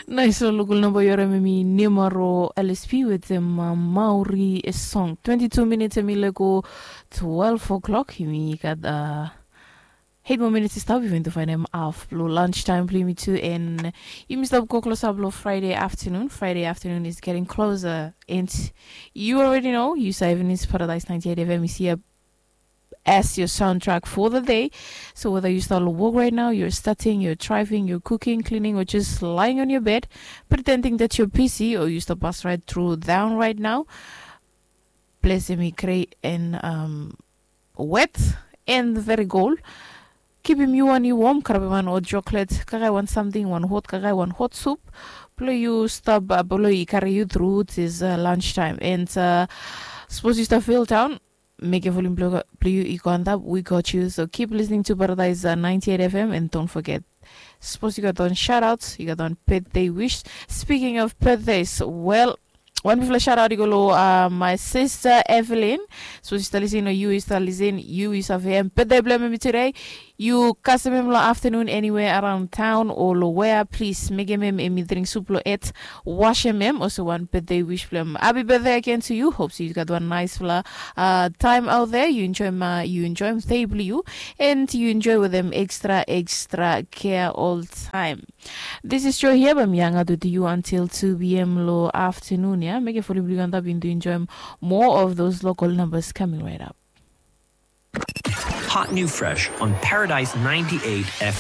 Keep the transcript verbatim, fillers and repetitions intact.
Nais long lokol namba yu harim em i Nimaro L S P wetem Maori song. Twenty-two minutes em i lego twelve o'clock. Yumi gat eight more minutes i stap. Yumi tu fainem haf blong lunch time blong yumi tu, and yumi stap go klosap long Friday afternoon. Friday afternoon is getting closer, and you already know, yu save Paradise ninety-eight F M is here as your soundtrack for the day. So whether you start to work right now, you're studying, you're driving, you're cooking, cleaning, or just lying on your bed, pretending that you're busy, or you stop bus right through down right now, ples em i gre and um, wet and very cold. Kipim yu wan yu wom, karabim wan hot chocolate, kakae wan samting, wan hot kakae, wan hot sup. Blong yu stap, uh, blong i kari yu through this uh, lunch time. And uh, suppose you start feel down, make a volume blong yu i go antap, we got you. So keep listening to Paradise uh, ninety-eight F M and don't forget, suppose you got on shout outs, you got on birthday wish. Speaking of birthdays, well, wan bifala shout out i go long uh, my sister Evelyn. Suppose you start listening, or you start listening, you is a V M birthday blong em today. Yu kasem em long afternoon anywhere around town o long wea, plis mekem em em i dring sup long et, wasem em olsem wan birthday wish blong em. Happy birthday again to you. Hope you got one nice fla uh, time out there. You enjoy my, you enjoy em table you, and you enjoy with them extra extra care all time. This is Joy here. I'm young out with you until two p.m. long afternoon. Yeah, make a fully blue and up into enjoy more of those local numbers coming right up. Hot new fresh on Paradise ninety-eight F M.